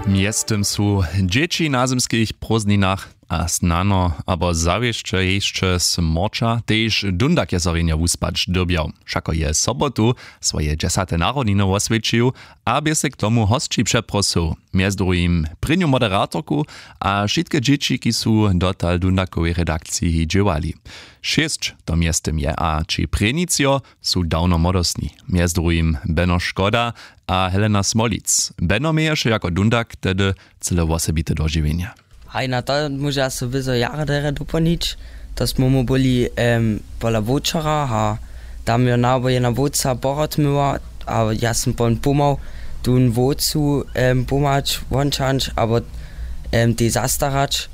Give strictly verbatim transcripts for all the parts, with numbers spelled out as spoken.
Mjeztym su dźěći na zymskich prózdninach a snano abo zawěsće hišće smorća tež dundakjeserjenje wuspać dyrbjał. Wšako je sobotu swoje dźesate narodniny woswjećił a bě sej k tomu hosći přeprosył, mjez druhim prěnju moderatorku a wšitke dźěći, kiž su dotal w dundakowej redakciji dźěłali. Šěsć to mjeztym je a ći prěnjicjo su dawno młodostni, mjez druhim beno škoda a helena smolic. Beno měješe jako dundak tehdy cyle wosebite dožiwjenje. Haj, na to móža so wězo jara derje dopolnić. To smy mu byli pola wočera a tam jo nawoje na woca porotmyła a ja sym pon pomhał tón wocu pomhać wončanč abo tej zastarać.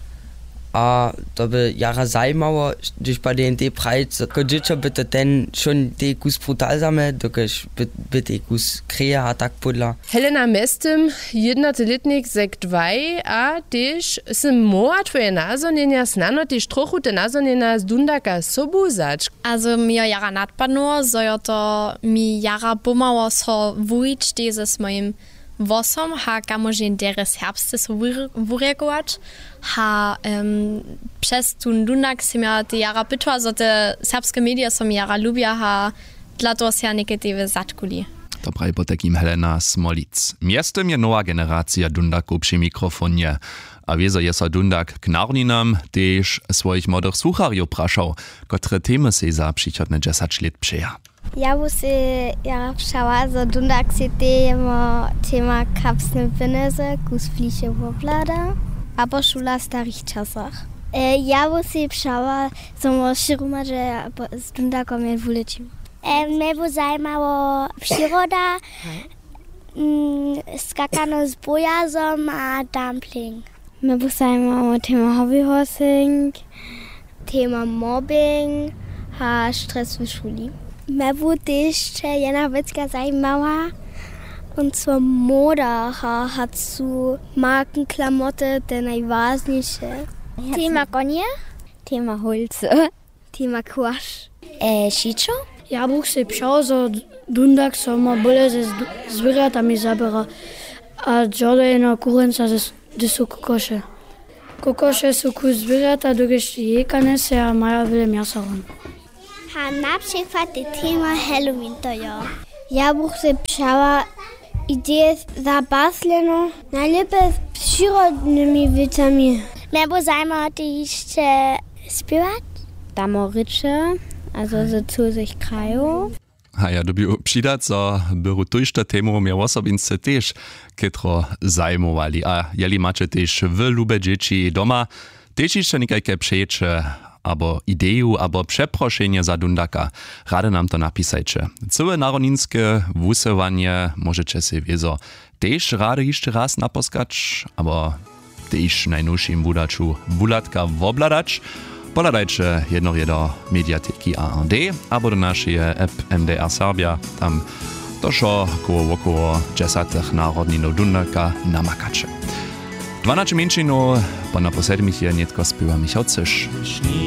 A to by jara zajimało, hdyž padejn tej prajić, jako dźěćo by to ten wšón tej kus brutal zamy dokelž by tej kus kreje a tak pódla. Helena mjeztym, jědnaty lětnik sek dwaj a tež sym móhła twoje nazhonjenja snano tež trochu te nazhonjenja z dundaka sobu wzać. A zo mi jo jara nadpadnyło zo jo to mi jara pomhało so wuwić tež z mojim włosom ha kamožeń derje serbsce so wurjekować. Ha přez tón dundak sym ja te jara pytła zo te serbske medije so mi jara lubja ha dla toho sej ja někedy zatkuli. To praji potajkim helena smolic. Mjeztym je nowa generacija dundakow při mikrofonje. A wězo je so dundak k narodninam tež swojich młodych słucharjow prašał, kotre temy sej za přichodne dźesać lět přeja. Ja bu sej jara přała zo dundak sej tej jemo tema kapsne pjenjezy kus fliše woblada abo šula w starich časach. Ja bu sej přała zo mo wšěrumadźe z dundakom je wulećim. Mje bu zajimało přiroda, skakano z bojazom a dumpling. Mje bu zajimało tema hobbyhorsing, tema mobbing a stres w šuli. Mje bu tež jedna wěcka zajimała, on so moda a hacu markenklamoty te najwažniše. Tema konje, tema holcy, tema kłaš, šićo. Ja bych sej přał zo dundak so ma bóle ze zwěrjatami zaběra a dźordejno kurenca ze dysu kokoše. Kokoše su kus zwěrjata dokelž jejka njeseja maja wjele mjasa hon. Ha na přikład te tema halloween to jo. Ja bych sej přała ideje za basleno najlěpje z přirodnymi wěcami. Mje bu zajimało tež hišće spěwać, damo rěče a zo z cuzych krajow. A ja dyrbju přidać zo byru tójšto temow mje wosobinsce tež chětro zajimowali a jeli maće tež wy lube dźěći doma tež hišće někajke přejeće abo ideju abo přeprošenje za dundaka, rady nam to napisajće. Cyłe narodninske wusyłanje móžeće sej wězo tež rady hišće raz naposkać abo tež w najnowšim wudaću wuhladka wobhladać. Pohladajće jednore do mediateki ard abo do našeje app mdr serbja, tam to wšo koło wokoło dźesatych narodninow dunaka namakaće. Dwanaće mjeńšinow po napoł sedmich je nětko spěwa michał cyš.